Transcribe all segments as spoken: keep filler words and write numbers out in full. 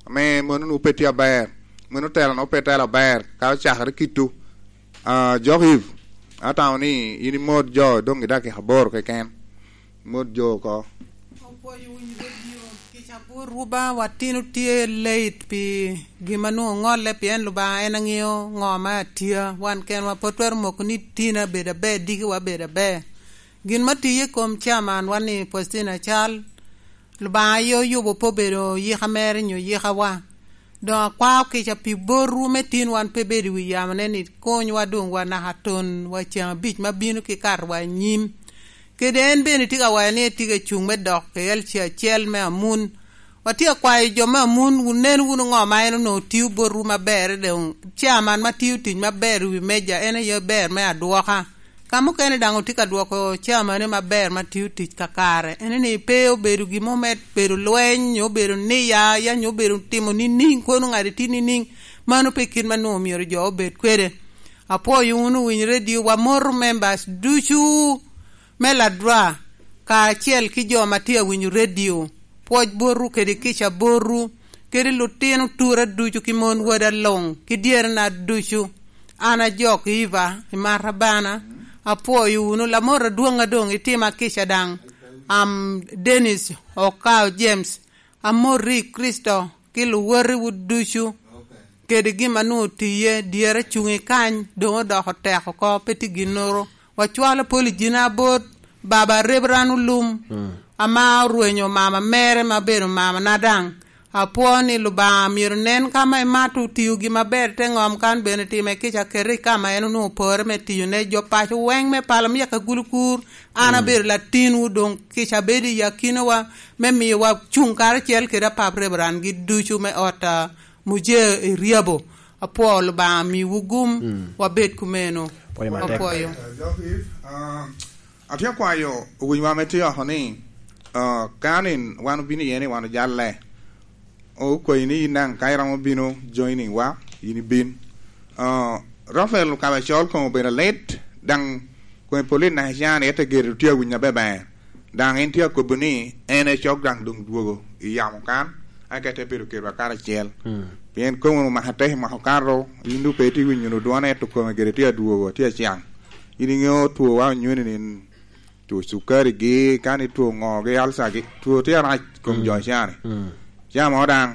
ame mano nwoŋo pe tye aber, mano tela nwoŋo pe tela aber, ka ocakere kitwu. Ah, Jok Eve, atamo ni in imot jo doŋ i dakika aboro keken. Mot jo oko. Opwoyo winyo redio kica bot Ruba, watino tye late pi gin ma nwoŋo oŋolle, pien Lubanga en aŋeo ŋo ma atya. Wan kenwa pe twero moko ni tina bedo aber, dikiwa bedo aber. Gin ma tiye i kom chairman wan ni Faustina Acal, Lubanga aye oyubo pe obedo yika mere nyo yikawa. Doŋ akwao kica pi botwu me tin wan pe bedo i wi yamone ni konywa doŋ wa naka ton wa ceŋ abic ma bino ki katowa anyim. Kede en bene tye ka waco ni etye ka cuŋ me dok i L C acel me Amun. Watye akwayo jo me Amun, wunen wunu ŋo ma en onwoŋo tio botwu maber, doŋ chairman ma tio tic maber i wi meja en aye ber me adwoka. Ka mukene daŋ otye ka dwoko camane maber ma tio tic kakare, en ni pe obedo gin mo me bedo lweny, nyo obedo niya, ya nyo obedo timo nining, kono ŋat itye nining, mano pe kit ma nwoŋo myero jo obed kwede. Apwoyo wunu winyo redio, wamoto members ducu me Ladwa, kacel ki jo ma tye awinyo redio. Pwoc botwu kede kica botwu, kede lutino tura ducu ki mon wada luŋ, ki dyerena ducu. An ajok Iva, imata bana, apwoyo wunu, lamot adwoŋ adoŋ itima kica daŋ. Am Dennis Okao James, amoti i Kricito, ki luwotiwu ducu, kede gin ma nwoŋo tiye, dyere cuŋ i kany, doŋ odoko tek oko, pe tye ginnoro. Wacwalo pol i jina abot, baba Reverend Olum, mm, ama orwenyo mama mere ma obedo mamana daŋ. Apwoo ni Lubanga myero nen ka ma imato otio gin maber te ŋom kan bene time kica kete i ka ma en onwoŋo opore me tiyo ne jo paco weŋ me palo me yaka gulu kur. An, mm, abedo latinwu doŋ kica bedo i akinawa me miyowa cuŋ karacel kede apap Reverend gi ducu me ot, ah, Muje i Ryabo. Apwoo Lubanga miwu gum, mm, wabed kumeno. Pwoyo matek. Apwoyo. Eh, Jok Eve, ah, atye akwayo owinyowa ame tye oko ni, ah, ka ni wan obino iye ni wan ojalle, okwayi ni in daŋ ka iromo bino joining wa, in ibin. Ah, Rafael Okabacol koŋ obedo lit, daŋ koŋ i police naka can, ete gire tye awinyo abeber. Daŋ en tye akobo ni en ecok daŋ doŋ dwogo i yamo kan, eka te bedo kedwa karacel. Mm. Pien komi omako atek i mwaka okato, in doŋ pe itye winyo wunu dwone, ento kome gire tye adwogo, tye acaŋ. In iŋeo twowa onyoni ni two cukari gi, kani two ŋo gi, ulcer gi, two tye arac kom, mm, jo cani. Mm. Camo daŋ,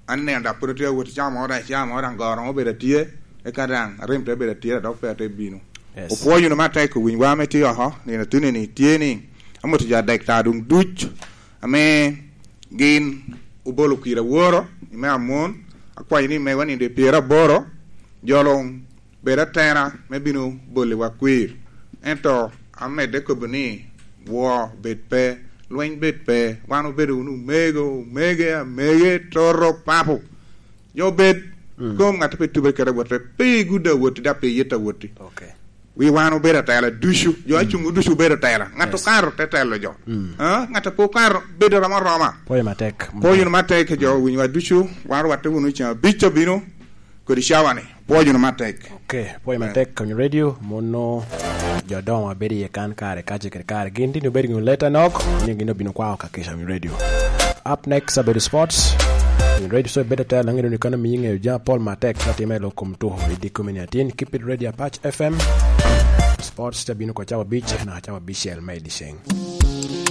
an neno dok pwod tye awot camo daŋ, camo daŋ goro obedo atye, eka daŋ arim te bedo atye, dok pe ate bino. Yes. Opwoyo wunu matek owiny wa ame tye oko, nino atuni ni tye ni, amito jo adek ta doŋ duc, ame gin obolo kira woro, i me amon, akwayo ni megwa nino i pyeraboro, jo luŋ bed atera me bino boliwa kwir. Ento amedde kobo ni, woo bed pe, lweny bed pe, wan obedo wunu omego, omege, amege, toto, papo. Jo bed, mm, kom ŋat pe tube kede awotte, pe igudde awoti, dok pe iyette awoti. Ok. Wi wan obedo atela ducu, jo, mm, acuŋ ducu obedo atela. Ŋat, yes, okato te telo jo. Mm. Ah, ŋat a pe okato bedo romo aroma. Pwoyo matek. Pwoyo matek, jo, mm, winywa ducu, wan rwatte wunu i ceŋ abic abino, kodi cawa-ni. Pwoyo wunu matek. Ok, pwoyo, eh, matek, Kony Radio, mono jo doŋo ma bedo iye kan kare, kace kede kare. Gin tye ni obedo gin leta nok, ni gin obino kwao ka Kicam Radio. Up next, abedo sports. Kony Radio so bedo tela, ngedo ni kano miyi ngeyo jami pol matek ka time lo kom tuko i dikko me niatin. Keep it Radio Apac F M. Sports te bino ko cawa abic, na cawa abicel me i dyeceng.